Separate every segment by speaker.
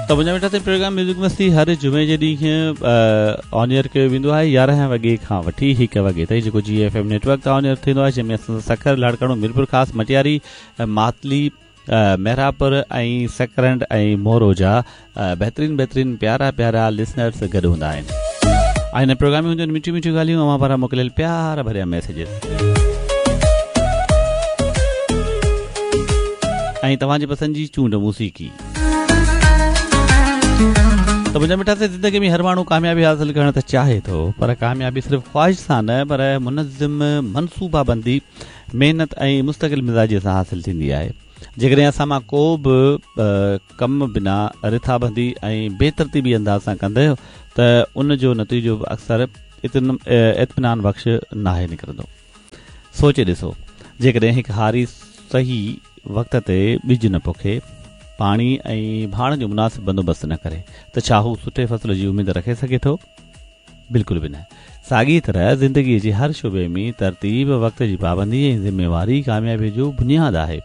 Speaker 1: ته منهنجا مٺا سائين پروگرام ميوزڪ مستي هر جمعي جي ڏينهن آن ايئر ڪيو ويندو آهي 11 وڳي کان وٺي 1 وڳي تائين جيڪو جي ايف ايم نيٽورڪ تان آن ايئر ٿيندو آهي جنهن ۾ اسان سکر لاڙڪاڻو ميرپور خاص مٽياري ماتلي محرابپور ۽ سڪرنڊ ۽ مورو جا بهترين بهترين پيارا پيارا لسنرس گڏ هوندا آهن ۽ هن پروگرام ۾ هونديون آهن مٺيون مٺيون ڳالهيون اوهان پاران موڪليل پيار ڀريا ميسيجز ۽ توهان جي پسند جي چونڊ موسيقي ته منهنجا مٺا سائين زندگي ۾ هر ماڻهو ڪاميابي حاصل ڪرڻ ته چاهي ٿو پر ڪاميابي صرف خواهش سان نه پر منظم منصوبا بندي محنت ۽ مستقل مزاجي سان حاصل ٿيندي آهي جيڪڏهن اسان مان ڪو به ڪم بنا رٿابندي ۽ بي ترتيبي انداز سان ڪندو ته ان جو نتيجو به اڪثر اطمينان بخش ناهي نڪرندو. سوچي ڏسو، جيڪڏهن هڪ هاري صحيح وقت تي ٻج نه پوکي، پاڻي ۽ ڀاڻ جو مناسب بندوبست نه ڪري ته ڇا هو سٺي فصل جي اميد رکي سگهي ٿو؟ بلڪل به نه. ساڳيء طرح زندگيء جي هر شعبي ۾ ترتيب، وقت جي پابندي ۽ ذميواري ڪاميابيء جو بنياد آهي.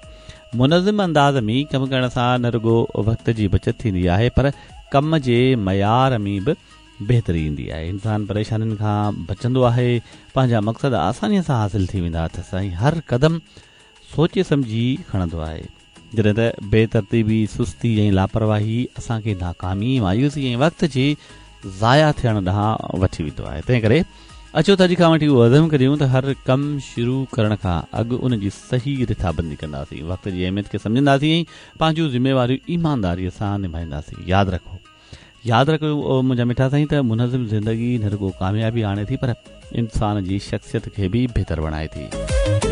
Speaker 1: منظم انداز ۾ ڪم ڪرڻ سان نه رڳو وقت جي بچت ٿيندي آهي پر ڪم جي معيار ۾ به بهتري ايندي آهي. انسان پريشانين کان بچندو آهي، پنهنجا مقصد آسانيء سان حاصل ٿي ويندا اٿس ۽ هر قدم سوچي سمجهي کڻندو آهي. جڏهن ته بي ترتيبي، سستي ۽ لاپرواهي اسان کي ناڪامي، مايوسي ۽ وقت جي ضايع ٿيڻ ڏانهن وٺي ويندو آهي. تنهن ڪري اچو ته اڄ کان وٺي اهو عزم ڪريون ته هر ڪم شروع ڪرڻ کان اڳ ان جي صحيح رٿابندي ڪنداسين، وقت جي اهميت کي سمجهنداسين ۽ پنهنجون ذميواريون ايمانداريء سان نڀائينداسين. ياد رکو! ياد رکو منهنجا مٺا سائين ته منظم زندگي نه رڳو ڪاميابي آڻي ٿي پر انسان جي شخصيت کي به بهتر بڻائي ٿي.